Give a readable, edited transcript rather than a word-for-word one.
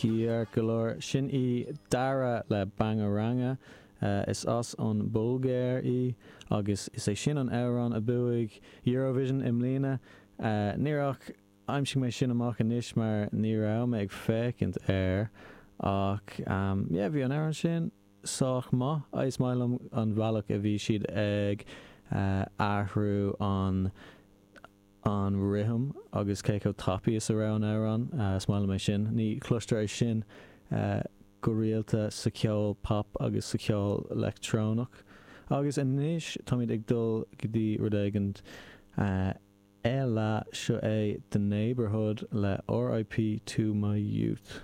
Ceart go leor, sin í Dara le Bangaranga. Is as an Bhulgáir í agus is é sin an amhrán a bhuaigh Eurovision i mbliana. Níor ach aimsigh mé sin amach anois mar ní raibh mé ag féachaint air ach yeah bhí an amhrán sin sách maith. Is maith liom an bhealach a bhí siad ag athrú an an rithim agus cé chomh tapaidh is a raibh an amhrán. Is maith liom é sin. Ní chloistear é sin go rialta sa cheol pop agus sa cheol leictreonach. Agus anois táimid ag dul go dtí rud éigin eile, seo é The Neighbourhood le RIP to my youth.